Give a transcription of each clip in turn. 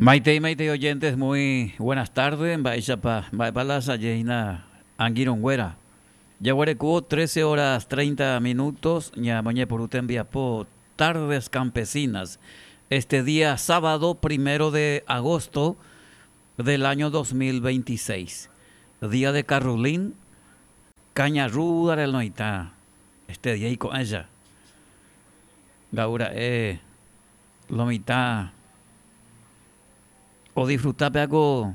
Maitei, maitei oyentes, muy buenas tardes. Mba'éichapa, mba'épa la asaje hína angirũnguéra. Jaguereko 13 horas 30 minutos ñamoñepyrũ tembiapo Tardes Campesinas este día sábado primero de agosto del año 2026. Día de Carrulín, Caña Ruda del Noitã, este día iko'ẽja. Nga'ura'e lo mitã odisfruta pe ako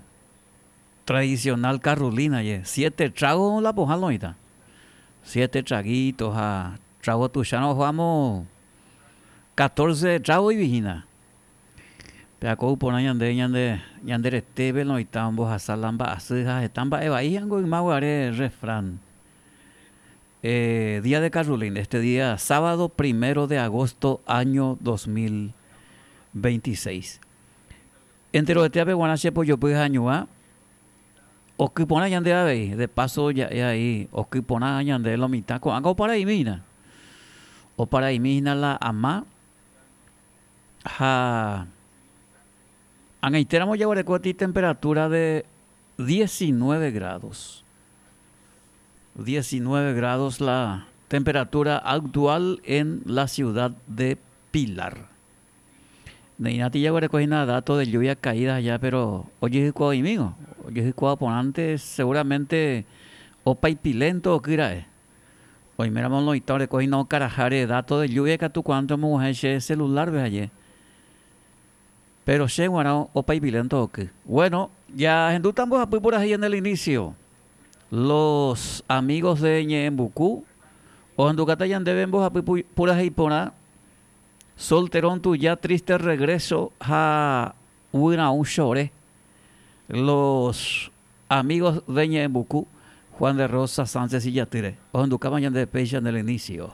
tradicional Carrulina je. Siete trago la pohã lo mitã. Siete traguito ha trago tuicharõ oho amo catorce trago ivi hína. Pe ako porã ñande ñande ñande retépe lo mitã ombohasa la mba'asy ha heta mba'e vai hango yma guare refrán. Día de Carrulín, este día sábado primero de agosto año 2026. Enterovetéape guarã che pojopy hañua, oky porã ñande avei, de paso ja'e ahí, oky porã ñande lo mitã, ko'ág̃a oparaimi hína. Oparaimi hína la ama ha ag̃aitéramo jaguereko ti temperatura de 19 grados. 19 grados la temperatura actual en la ciudad de Pilar. Ne'irãti jaguereko hína dato de lluvia caídas allá, pero ojehykuaoimígo, ojehykuaa porãnte seguramente opaipilento oky ra'e. Oiméramo loĩta oreko hína okaraháre dato de lluvia ikatu kuaánte omoguahẽ che celular-pe aje. Pero che g̃uarã opaipilento oky. Bueno, jahendúta mbohapy purahéi en el inicio. Los amigos de Ñe'ẽmbuku ohendukáta ñandéve mbohapy purahéi porã, Solterón tuja, Triste regreso ha Guyraũ chore. Los amigos de Ñe'ẽmbuku, Juan de Rosa Sánchez ijatýre, ohendukáma ñandéve péicha en el inicio.